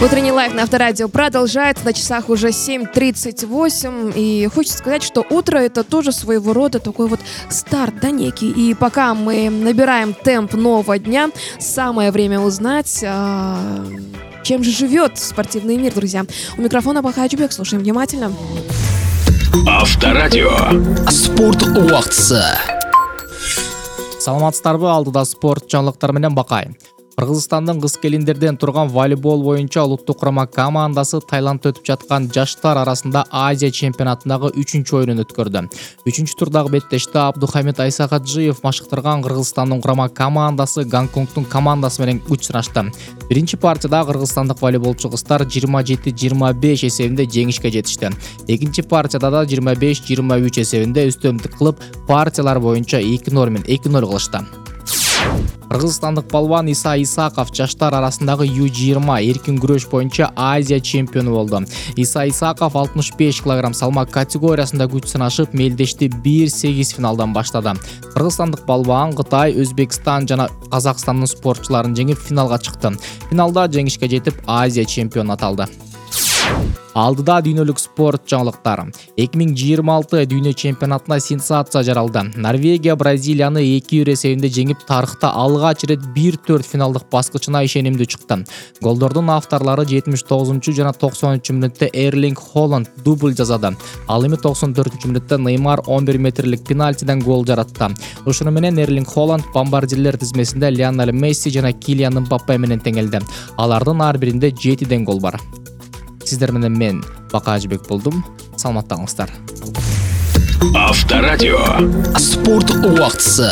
Утренний лайв на Авторадио продолжается. На часах уже 7:38. И хочется сказать, что утро — это тоже своего рода такой вот старт, да, некий. И пока мы набираем темп нового дня, самое время узнать, чем же живет спортивный мир, друзья. У микрофона Бахай Аджубек. Слушаем внимательно. Авторадио. Спорт убактысы. Саламатсыздарбы, алдыда спорт жаңылыктары менен Бакай. Кыргызстандын кыз-келиндерден турган волейбол боюнча улуттук курама командасы Таиландда өтүп жаткан жаштар арасында Азия чемпионатындагы 3-чү оюнун өткөрдү. 3-чү турдагы беттеште Абдухамид Айсакаджиев машыктырган Кыргызстандын курама командасы Гонконгдун командасы менен күч сынашты. Биринчи партияда кыргызстандык волейболчу кыздар 27-25 эсебинде жеңишке жетишти. Экинчи партияда да 25-23 эсебинде үстөмдүк кылып, партиялар боюнча 2-0 менен 2-0 кылышты. Кыргызстандык балбан Иса Исаков жаштар арасындагы U20 эркин күрөш боюнча Азия чемпиону болду. Иса Исаков 65 кг салмак категориясында күч сынашып, мелдешти 1-8 финалдан баштады. Кыргызстандык балбан Кытай, Өзбекстан жана Казакстандын спортчуларын жеңип финалга чыкты. Финалда жеңишке жетип Азия чемпиону аталды. Алдыда дүйнөлүк спорт жаңылыктары. 2026 дүйнө чемпионатына сенсация жаралды. Норвегия Бразилияны 2-0 эсебинде жеңип, тарыхта алгач ирет 1/4 финалдык баскычына ишенимдүү чыкты. Голдордун авторлору 79 жана 90 мүнөттө Эрлинг Холланд дубль жасады. Ал эми 94 мүнөттө Неймар 11 метрлик пенальтиден гол жаратты. Ушуну менен Эрлинг Холланд бомбардирлер тизмесинде Лионель Месси жана Килиан Мбаппе менен теңелди. Алардын ар биринде 7 гол бар. Сиздер менен мен Бакай Аджубек болдум. Саламатта калыңыздар. Авторадио. Спорт убактысы.